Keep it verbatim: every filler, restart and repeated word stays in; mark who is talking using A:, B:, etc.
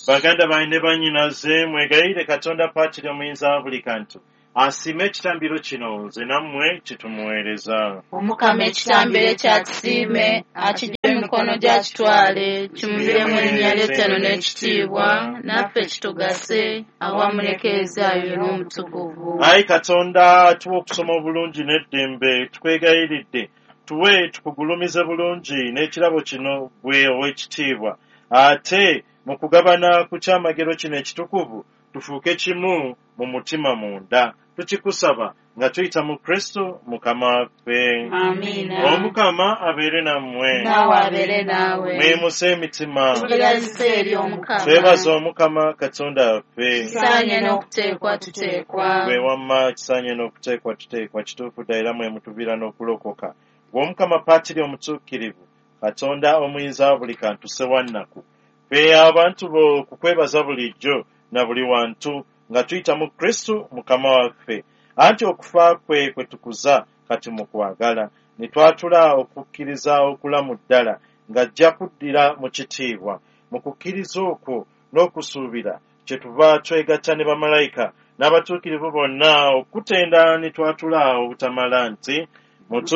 A: Baganda bange ne bannyinaze, mwegayirire Katonda Patri Omuyinza wa buli kantu asiime ekitambiro kino nze nammwe kitumuweereza.
B: Omukama ekitambiro ekyakisiime akijje mu mikono gy'akitwale, kimuviremu erinnya ly'ettano n'ekitiibwa, naffe kitugase awamu n'Eklezia n'Omutukuvu.
A: Ayi Katonda, tuwe okusoma obulungi n'eddembe, tukwegayiridde tuwe tukugulumize bulungi n'ekirabo kino ggwe ow'ekitiibwa, ate mu kugabana ku kyamagero kino ekitukuvu tufuuke kimu mu mutima munda. Tukikusaba nga tuyita mu Kristo Mukama waffe.
B: Amiina.
A: Omukama abeere nammwe.
B: Naawe abeere naawe.
A: Mwemuse emitima.
B: Tugirazise eri Omukama.
A: Twebaza Omukama Katonda waffe.
B: Kisaanye n'okuteekwa tuteekwa.
A: Gwe wamma kisaanye n'okuteekwa tuteekwa, kituufu ddala era mwe mutuviira n'okulokoka. Gwe Omukama Patri Omutuukirivu, Katonda omuyinza wa buli kantu Ssewannaku, ffe abantu bo kukwebaza bulijjo na buli wantu nga tuyita mu Kristo Mukama waffe. Anti okufa kwe kwe tukuza kati mu kwagala, ne twatula okukkiriza okulamu ddala ng'ajja kuddira mu kitiibwa. Mu kukkiriza okwo n'okusuubira kyetuva twegatta ne bamalayika n'abatuukirivu bonna okutenda ne twatula obutamala nti